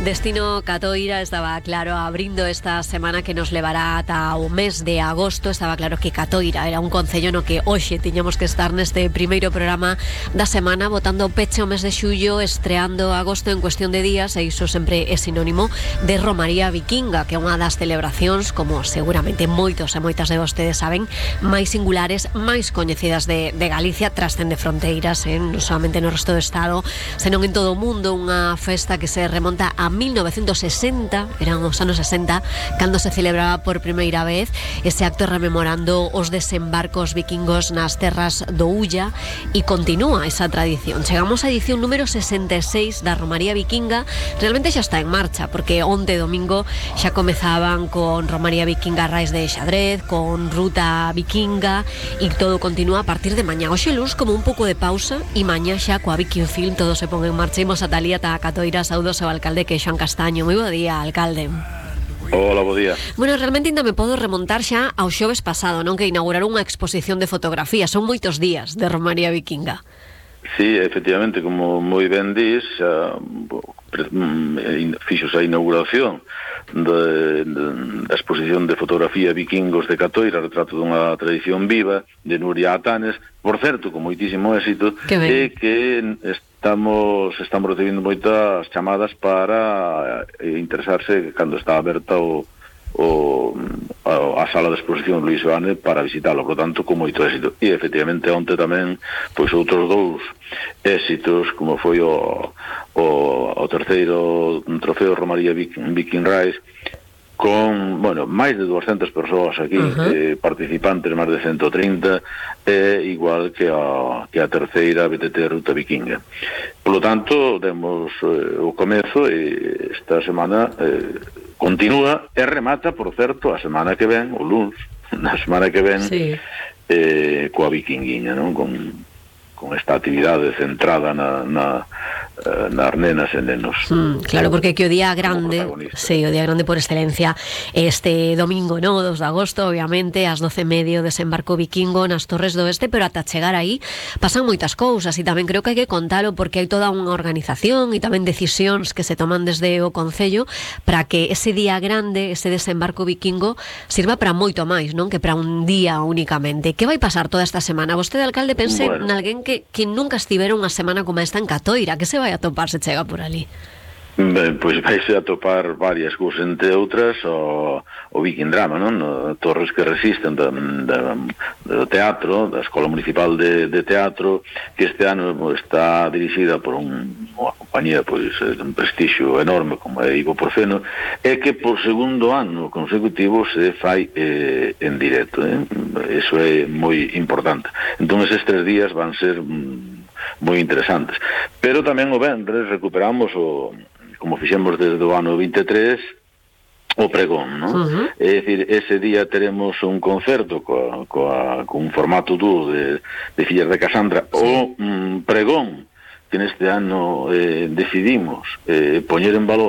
Destino Catoira estaba claro abrindo esta semana que nos levará ata o mes de agosto. Estaba claro que Catoira era un concello no que hoxe tiñamos que estar neste primeiro programa da semana, botando peche o mes de xullo, estreando agosto en cuestión de días, e iso sempre é sinónimo de Romaría Vikinga, que é unha das celebracións, como seguramente moitos e moitas de vostedes saben, máis singulares, máis coñecidas de Galicia, trascende fronteiras, non solamente no resto do Estado, senón en todo o mundo. Unha festa que se remonta a 1960, eran os anos 60, cando se celebraba por primeira vez ese acto rememorando os desembarcos vikingos nas terras do Ulla, e continúa esa tradición. Chegamos á edición número 66 da Romaría Vikinga. Realmente xa está en marcha, porque onte domingo xa comezaban con Romaría Vikinga Rais de Xadrez, con Ruta Vikinga, e todo continúa a partir de mañá. Hoxe luns como un pouco de pausa, e mañá xa coa Viking Film todo se pon en marcha. Imos a Talía ta Catoira, saudos ao alcalde, que é Xoan Castaño. Moi bo día, alcalde. Hola, bo día. Bueno, realmente ainda me podo remontar xa ao xoves pasado, non, que inauguraron unha exposición de fotografía. Son moitos días de Romaría Vikinga. Sí, efectivamente, como moi ben dis, fixos a inauguración da exposición de fotografía Vikingos de Catoira, retrato dunha tradición viva, de Nuria Atanes, por certo, con moitísimo éxito, e que estamos recibindo moitas chamadas para interesarse cando está aberta a sala de exposición Luís Oane para visitalo, por tanto, con moito éxito. E efectivamente onte tamén pois outros dous éxitos, como foi o terceiro trofeo Romaría Viking Rise, con, bueno, máis de 200 persoas aquí, participantes, máis de 130, igual que a terceira BTT Ruta Vikinga. Por lo tanto, demos o comezo, e esta semana continúa e remata, por certo, a semana que ven, o luns, na semana que ven, coa Vikinguiña, non? Con esta actividade centrada nas nenas e nenos. Claro, porque que o día grande, o día grande por excelencia, este domingo, no, 2 de agosto, obviamente, ás 12:30 desembarco vikingo nas Torres do Oeste, pero ata chegar aí pasan moitas cousas, e tamén creo que hai que contalo, porque hai toda unha organización e tamén decisións que se toman desde o Concello para que ese día grande, ese desembarco vikingo, sirva para moito máis, non que para un día únicamente. Que vai pasar toda esta semana? Vostede, alcalde, pense nalguén que nunca estivera unha semana como esta en Catoira. Que se vai a topar se chega por ali? Ben, pois vais a topar varias cousas, entre outras o Viking Drama, non? Torres que resisten do teatro, da Escola Municipal de Teatro, que este ano está dirixida por unha compañía pois de un prestixio enorme como é Ivo Porceno, e que por segundo ano consecutivo se fai en directo, Eso é moi importante. Entón eses 3 días van ser moi interesantes. Pero tamén o venres recuperamos como fixemos desde o ano 23, o pregón, non? É dicir, ese día teremos un concerto con formato dúo de Fillas de Casandra, o pregón que neste ano decidimos poñer en valor